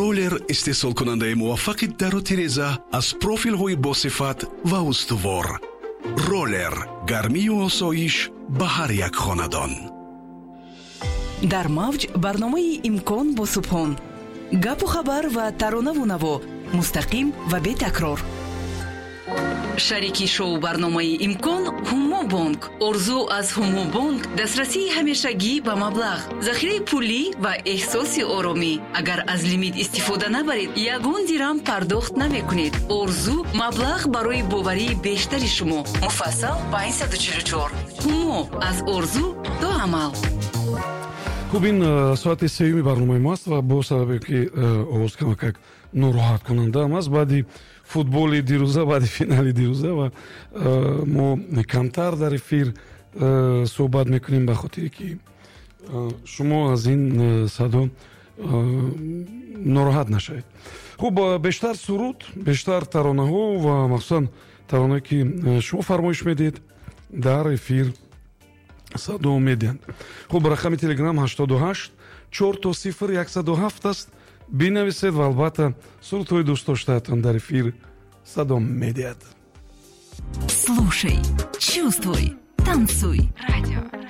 Ролер, истеҳсолкунандаи муваффақи дару тиреза аз профилҳои босифат ва устувор. Ролер, гармию осоиш ба ҳар як хонадон. Дар мавҷ барномаи «Имкон» бо Субҳон. Гапу хабар ва таронаву наво мустақим ва бетакрор. Шарики шоу барномаи «Имкон» «Ҳумо Бонк». Орзу аз «Ҳумо Бонк» дастрасии ҳамешагӣ ба маблағ, захираи пулӣ ва эҳсоси оромӣ. Агар аз лимит истифода набаред, ягон дирам пардохт намекунед. Орзу, маблағ барои боварии бештари шумо. Муфассал 544. «Ҳумо», аз орзу то амал. Хуб, ин соати сеюми барномаи мо аст ва бо сабабе ки овоз камакак нороҳаткунандаам аст баъди футболи дирӯза, баъди финали дирӯза, ва мо камтар дар эфир суҳбат мекунем, ба хотире ки шумо аз ин садо нороҳат нашавед. Хуб, бештар суруд, бештар таронаҳо ва махсусан таронае ки шумо фармоиш медиҳед, дар эфир садо медиҳанд. Хуб, рақами Телеграм 88 000 107 аст. Бинависед ва албатта сурудҳои дӯстдоштаатон дар эфир садо медиҳад. Слушай, чувствуй, танцуй. Радио.